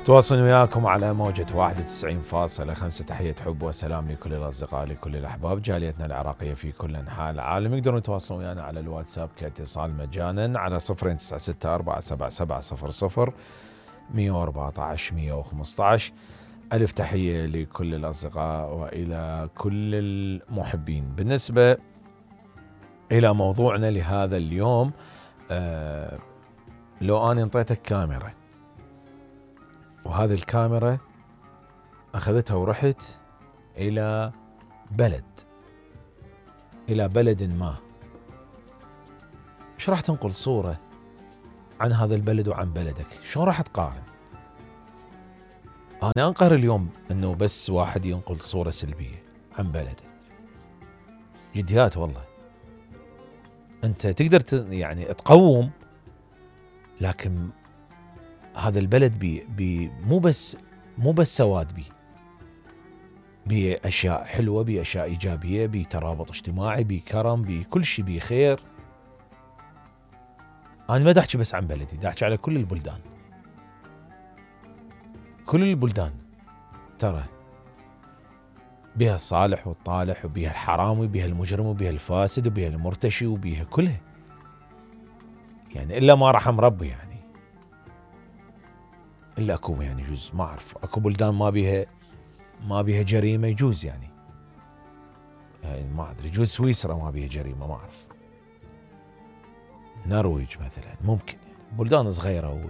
تواصل وياكم على موجة 91.5. تحية حب وسلام لكل الأصدقاء لكل الأحباب جاليتنا العراقية في كل أنحاء العالم. يقدرون يتواصلون ويانا على الواتساب كاتصال مجانا على 09647700 114 115. ألف تحية لكل الأصدقاء وإلى كل المحبين. بالنسبة إلى موضوعنا لهذا اليوم، لو أنا انطيتك كاميرا وهذه الكاميرا أخذتها ورحت إلى بلد ما، إيش راح تنقل صورة عن هذا البلد وعن بلدك؟ شلون راح تقارن؟ أنا أنقهر اليوم إنه بس واحد ينقل صورة سلبية عن بلده. جديات والله. أنت تقدر يعني تقوم، لكن هذا البلد بي مو بس سواد، بيه أشياء حلوة، بيه أشياء إيجابية، بيه ترابط اجتماعي، بيه كرم، بيه كل شيء، بيه خير. أنا ما داحكي بس عن بلدي، داحكي على كل البلدان. كل البلدان ترى بيها الصالح والطالح، وبيها الحرامي، وبيها المجرم، وبيها الفاسد، وبيها المرتشي، وبيها كلها، يعني إلا ما رحم ربي، يعني إلا أكو يعني جزء ما أعرف، أكو بلدان ما بيها جريمة يجوز، يعني ما أدري، يجوز سويسرا ما بيها جريمة، ما أعرف، نرويج مثلا ممكن، يعني بلدان صغيرة.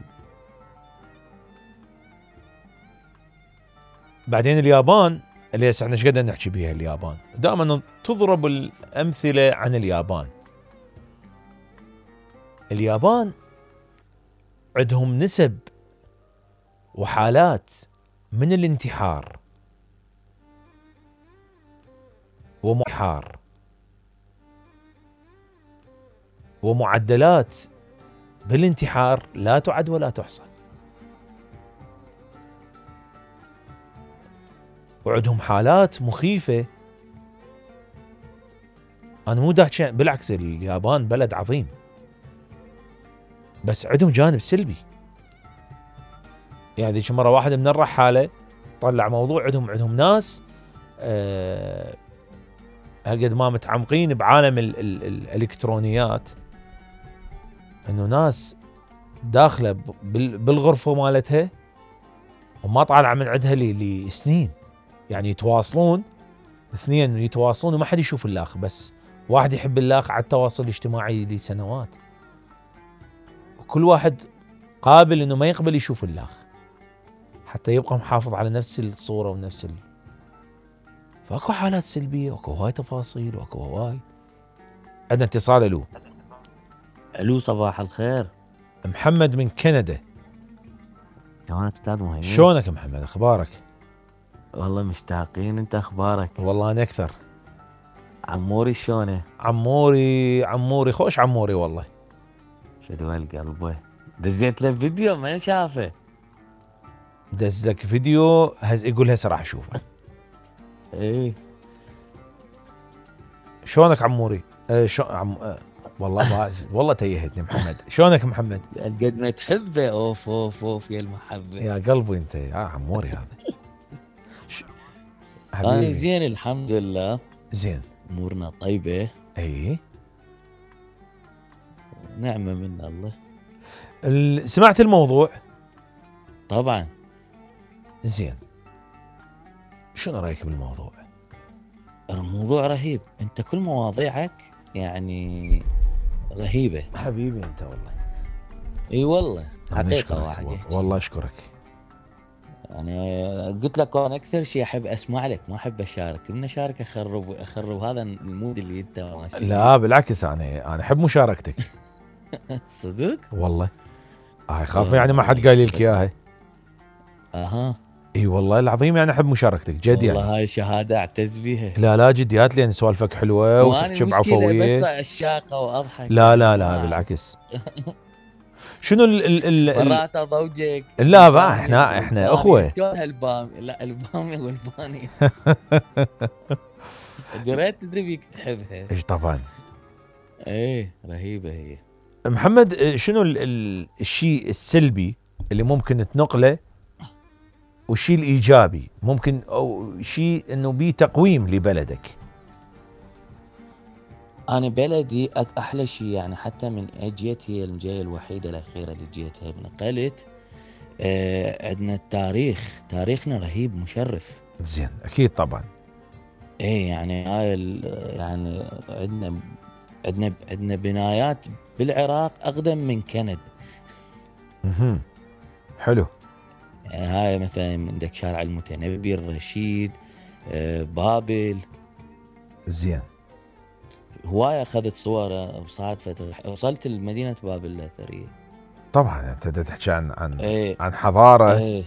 بعدين اليابان اللي هسه احنا ايش قد نحكي بيها، اليابان دائما تضرب الأمثلة عن اليابان. اليابان عندهم نسب وحالات من الانتحار ومعدلات بالانتحار لا تعد ولا تحصى، وعندهم حالات مخيفة. أنا مو داحكي، بالعكس اليابان بلد عظيم، بس عندهم جانب سلبي. يعني ذيك مرة واحد من الرحالة طلع موضوع، عندهم ناس هالقد ما متعمقين بعالم الإلكترونيات، إنه ناس داخلة بالغرفة مالتها وما طالعة من عندها لسنين، يعني يتواصلون اثنين، يتواصلون وما حد يشوف الآخر، بس واحد يحب الآخر على التواصل الاجتماعي لسنوات، وكل واحد قابل إنه ما يقبل يشوف الآخر حتى يبقى محافظ على نفس الصورة ونفس فاكو حالات سلبية، واكو هواي تفاصيل، واكو هواي. عندنا اتصال. الو صباح الخير، محمد من كندا. تمام استاذ مهيمن، شلونك محمد، اخبارك؟ والله مشتاقين، انت اخبارك؟ والله انا اكثر. عموري شلونه؟ عموري خوش، عموري والله. شدوا القلبه، دزيت له فيديو ما شافه. دزك فيديو يقول هسه راح اشوفه. ايه شلونك عموري؟ والله تيهتني محمد. شلونك محمد؟ قد ما تحبه، اوف اوف اوف يا المحبه يا قلبي انت يا عموري هذا. انا زين الحمد لله، زين، امورنا طيبه. اي نعمه من الله. سمعت الموضوع؟ طبعا. زين، شنو رايك بالموضوع؟ الموضوع رهيب، انت كل مواضيعك يعني رهيبه حبيبي انت والله. اي والله حقيقه واحد والله اشكرك. انا قلت لك انا اكثر شيء احب اسمع لك، ما احب اشارك، من اشارك اخرب هذا المود اللي انت ماشي. لا بالعكس، انا احب مشاركتك. صدق والله. خاف يعني ما حد قال لك اياها. اها اي والله العظيم، يعني احب مشاركتك جد، يعني والله هاي شهاده اعتز بيها. لا جديات، لان سوالفك حلوه وتحكي بعفويه. بس عشاقه واضحك. لا بالعكس. شنو مرات ضوجك. لا بقى احنا اخوه. شلون هالبامي؟ لا البامي والباني. دريت تدري بيك تحبها. ايش طبعا. ايه رهيبه هي. محمد، شنو الشيء السلبي اللي ممكن تنقله والشيء الايجابي ممكن، او شيء انه بيه تقويم لبلدك؟ انا بلدي احلى شيء يعني، حتى من اجيت هي الجايه الوحيده الاخيره اللي جيتها نقلت. عندنا التاريخ، تاريخنا رهيب مشرف. زين، اكيد طبعا. ايه يعني هاي يعني عندنا بنايات بالعراق اقدم من كندا. حلو. يعني هاي مثلا عندك شارع المتنبي، الرشيد، بابل. زين. هواية اخذت صور بصعد فترة، وصلت لمدينة بابل الاثرية. طبعا انت تحكي عن ايه عن حضاره. ايه